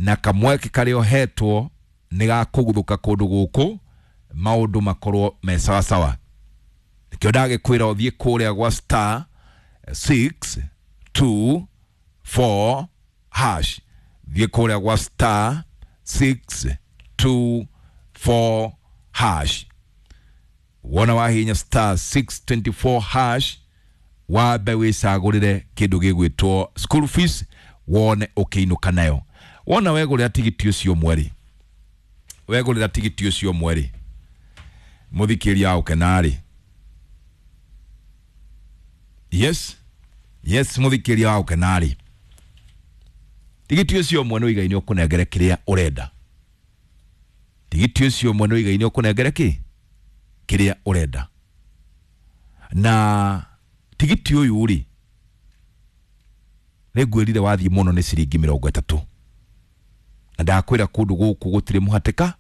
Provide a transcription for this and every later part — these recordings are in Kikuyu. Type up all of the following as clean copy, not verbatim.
Na kamweke karĩa ũhetwo nĩ gakũguthũka kũndũ gũkũ maũndũ makorwo me sawasawa. Nĩkĩo ndagĩkwĩra ũthiĩ kũrĩa gwa star 6 2 4 hash, thiĩ kũrĩa gwa star 6 2 4 hash. Wona wahinya star 624 hash, wambe wĩcagũrĩre kĩndũ gĩgwĩtwo school fees, wone ũkĩinũka nayo. Wona wegũrĩra tigiti ũcio mweri, wegũrĩra tigiti ũcio mweri, mũthikĩria wa ũkenarĩ, yes yes, mũthikĩria wa ũkenarĩ, tigiti ũcio ũmwe nĩ ũigaine ũkũnengere kĩrĩa ũrenda. Tigiti ũcio ũmwe nĩ ũigaine ũkũnengere kĩ kĩrĩa ũrenda. Na tigiti ũyũ rĩ, nĩngwĩrire wathiĩ mũno nĩ ciringi 30, na ndakwĩra kũndũ gũkũ gũtirĩ mũhatĩka,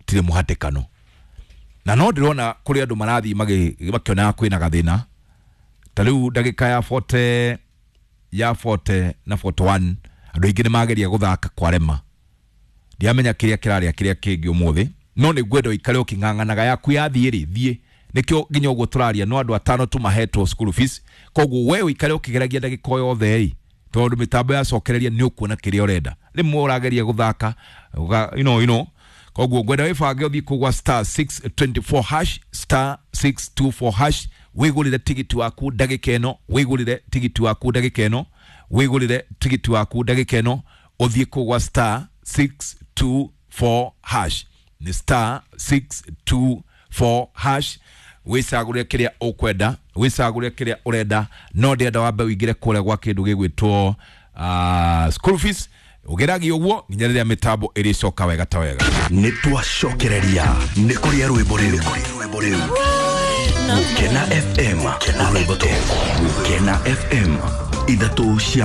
gũtirĩ mũhatĩkano. Na no ndĩrona kũrĩ andũ marathiĩ makĩonaga kwĩna gathĩna. Ta rĩu ndagĩka ya 40 ya 40 na 41, andũ aingĩ nĩ mageria gũthaka kwarema. Ndiamenya kĩrĩa kĩrarĩa kĩrĩa kĩngĩ ũmũthĩ, no nĩ ngwenda ũikare ũkĩng'ang'anaga yaku yathiĩ rĩ, thiĩ. Nĩkĩo nginya ũguo tũraria no andũ atano tu mahetwo school fees. Koguo we ũikare ũkĩgeragia ndagĩka o yothe ĩ, tondũ mĩtambo yacokereria nĩ ũkuona kĩrĩa ũrenda. Rĩmwe ũrageria gũthaka you know. Koguo ngwenda wĩbange ũthiĩ kũu gwa star 624 hash, star 624 hash, wĩgũrĩre tigiti waku ndagĩka ĩno, wĩgũrĩre tigiti waku ndagĩka ĩno, wĩgũrĩre tigiti waku ndagĩka ĩno, ũthiĩ kũu gwa star 624 hash, nĩ star 624 hash, wĩcagũrĩre kĩrĩa ũkwenda, wĩcagũrĩre kĩrĩa ũrenda. No ndĩrenda wambe ũingĩre kũrĩa gwa kĩndũ gĩgwĩtwo school fees, ũgeragie ũguo nginya rĩrĩa mĩtambo ĩrĩcoka wega ta wega. Nĩ twacokereria nĩ kũrĩa rwĩmbo rĩu Gũkena FM, rwĩmbo Gũkena FM, ithatũ cia.